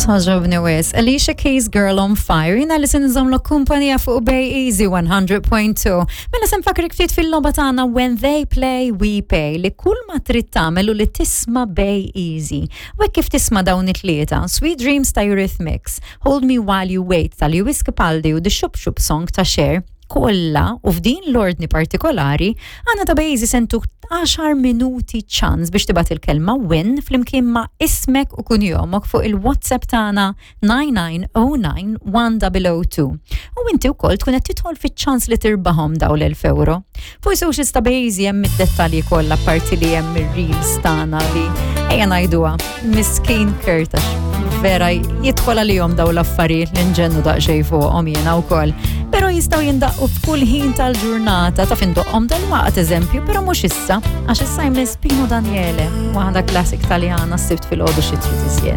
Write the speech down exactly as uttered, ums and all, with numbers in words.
Togħġobni wisq. Alicia Keys, "Girl on Fire". Jiena li se nżommlok kumpanija fuq Bay Easy one hundred point two. Mela se nfakkrek ftit fil-logħba tagħna When They Play, We Pay, li kull ma trid tagħmel hu li tisma' Bay Easy. U hekk kif tisma' dawn it-tlieta, Sweet Dreams ta' Eurythmics, Hold Me While You Wait ta' Lewis Capaldi u The Shoop Shoop Song ta' Cher, kollha u f'din l-ordni partikolari, aħna ta' Bay Easy se ntuk għaxar minuti ċans biex tibgħat il-kelma "win" flimkien ma' ismek u kunjomok fuq il-WhatsApp tagħna nine nine zero nine one zero zero two. U inti wkoll tkun qed tidħol fiċ-ċans li tirbaħhom daw l-elf euro. Fuq socials ta' Bay Easy hemm id-dettalji kollha, parti li hemm ir-reels tagħna li, ejja ngħiduha, miskin Kurt, għax vera jidħol għalihom daw l-affarijiet li nġennu daqsxejn fuqhom jiena wkoll. Però jistgħu jindaqqu f'kull ħin tal-ġurnata, ta' findoqqhom dal-waqt eżempju, però mhux issa, għax issa jmiss Pino Daniele, waħda classic Taljana. S-Sibt filgħodu xi trid iżjed.